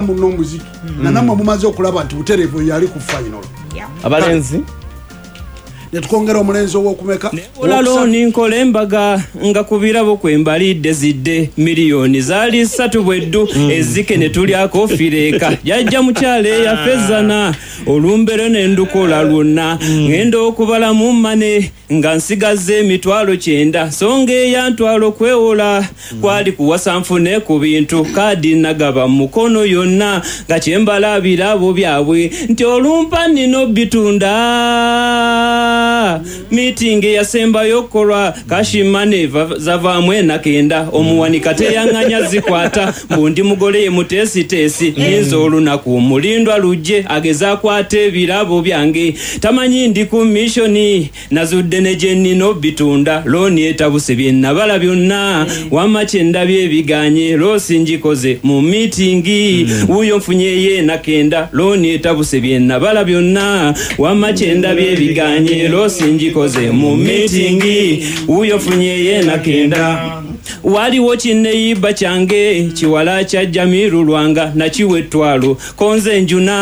Muno omuziki nanammwe mumaze okulaba nti butereevu yali ku final. Abalenzi. Netukwongera omulenzi owokumeka. Ola looni nkola embaga nga ku birabo kwe mbalidde zidde miliyoni zaali 3 bweddu ezike ne tulyako fireeka jajja mukyala eyaffe ezzana olumbero ne ndukola lwonna ngenda okubalamu mane nga nsigazza emitwalo 90 so nga eyantwala okwewola kwali kuwasa nfune ku bintu kaadi nagaba mu mukono yonna nga kyembala birabo byabwe nti olumpa nina obitunda miitingi eyasembayo okukolwa kashimane zavaamu enakenda omuwanika teyaŋŋanya zikwata mbu ndi mugole ye muteesiteesi ninza olunaku mulindwa lujje ageze akwata ebirabo byange tamanyi ndi ku missioni nazudde ne gye nnina obitunda looni etabuse bye nabala byonna wamma kye ndabye ebiganye loosi ngikoze mu miitingi wuuyo nfunyeyo enakenda looni etabuse bye nabala byonna wamma kye ndabye ebiganye loosi ngikoze mu miitingi wuuyo nfunyeyo enakenda waliwo kinneyiba kyange kiwala kya Jamiru Lwanga nakiwa ettwalo konze njuna.